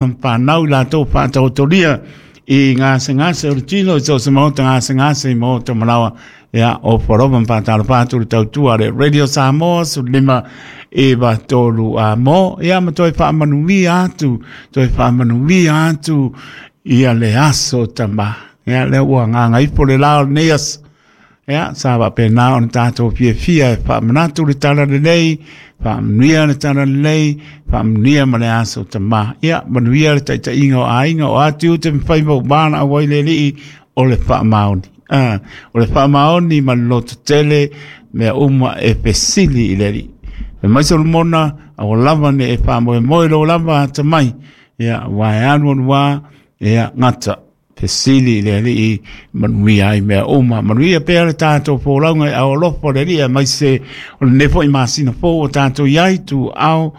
Whanau i latou whaataotoria i gasegase o le tino i so o se maota gasegase i maota malawa. Ia, o Forova ma whātalo whātu le tautua le Radio Samoa, 15 93 a mo. Ia, ma toe whaamanuia atu, toe whaamanuia atu ia le aso tama. Ia, lea ua nganga ipo le lao nei aso. Ia, sa faapena ona tatou fiafia e faamanatu le tala lelei, faamanuia le tala lelei, faamanuia ma le aso tama. Ia, manuia le taitaiga o aiga o ati ute ma faiva uma na auai le alii o le faamaoni. Ah, o le faamaoni ma le loto tele, mea uma e fesili i le alii. E mai Solomona, aua lava ne e faamoemoe lou lava atamai. Ia, aua e alu alu lava, ia, gata. Fesili i le alii manuia ai mea uma. Manuia pea le tatou folauga i ao alofa o le alii, aemaise o lenei foi masina fou o tatou i ai tu ao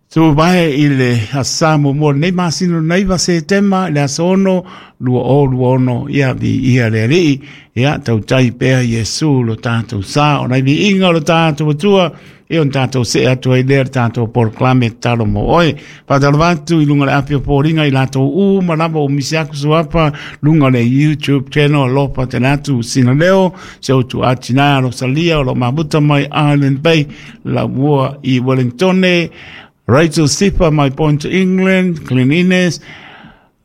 tuvae i le asa muamua o lenei masina o le 9 Setema i le aso 6 2026. Ia viia le alii, ia tautai pea Iesu lo tatou sa, o nai viiga o lo tatou Atua. Ia ona tatou see atu ai lea le tatou polokalame tatalo mo oe. Faatalofa atu i luga o le api o foliga i latou uma lava o misi aku suafa luga o le YouTube channel alofa tele atu sina leo se utu atina Rosalia o lo mafuta mai Island Bay Laumua i Wellingtone, Rachel Sifa mai Point England, Glen Innes,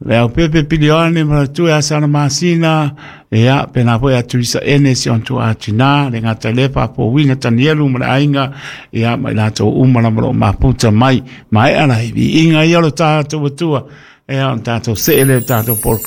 Le au pepe pilione ma tu e asana masina, ia, pena foi a Teresa Enes on tu atina, le ngata le pa po wina tanielu ma le ainga, ia, mai latou uma lava lo maputa mai, mai ala i inga ia lo tātou atua, ia, on tātou seele, tātou polokalame.